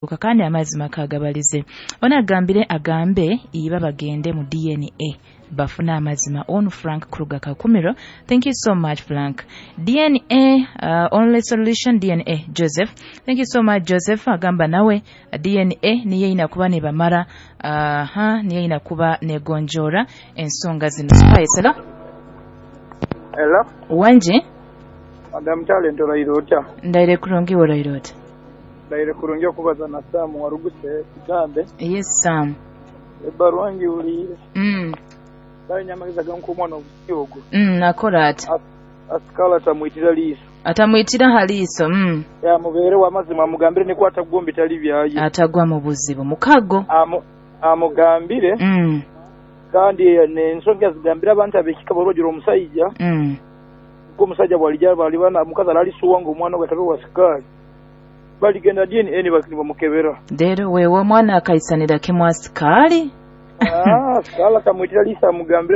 Kandi amazima kagabalize. Ono agambire agambe iba bagende mu DNA bafune amazima. Onu Frank Kruger Kakumiro, thank you so much, Frank. DNA only solution, DNA. Joseph, thank you so much, Joseph. Agamba nawe DNA niyo ina kuba nebamara, aha, niyo ina kuba negonjora ensonga zino. Spice, hello. Hello. Wanje. Madam Talent, oraire otya? Ndaire kurungi, oraire ota? Ndaire kurungi. Okubaza na Sam Waruguse Kigambe. Yes, Sam. Ebbaruwa ngiwuliire. Kale amagezi agankuha omwana obusi ogwo. Akora ati. Asikala atamwitira liiso. Atamwitira ha liiso. Yamubeerewo amazima, amugambire nikwata gwo bitali byaye. Atagwa mu buzibu mukago. Amugambire. Kandi nensonga zigambire abantu abekika bagira omusajja. Ko omusajja bwalijja balibana omukazi alalisuwa nga omwana gwe atabe wa sikaali, baligenda DNA nibamukebera. Rero wewe omwana akaisanira kimwe asikaali. Ah, sikala atamwitira liiso, amugambire.